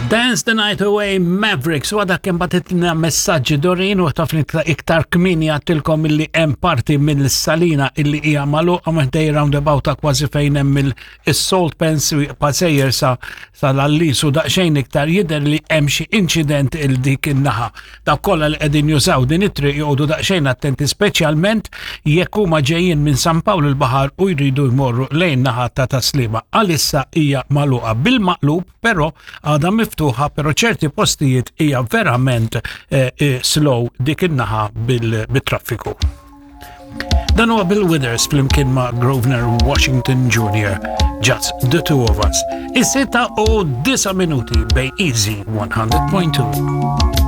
Dance the Night Away Mavericks u għadha kemm bagħtitlna messaġġi Dorin u taf li iktar kmieni għattilkom illi hemm parti mill-salina illi hija magħluqa meħdej roundabout ta' kważi fejn hemm il-salt pens pasejjer sa sal-allis u daqsxejn iktar jidher li hemm xi inċident il dik in-naħa. Dawk kollha li qegħdin jużaw din it-triq joqogħdu daqsxejn attenti speċjalment jekk huma ġejjin minn San Pawl il-Baħar u jridu jmorru lejn naħa ta' Taslima. Għalissa hija magħluqa bil-maqlub però għadha miftuħa però ċerti postijiet hija verament eh, eh, slow dik in-naħa bil-traffiku. Dan huwa Bill Withers flimkien ma' Grosvenor Washington Jr. Just the two of us. Is-sitta u disa minuti bej Easy 100.2.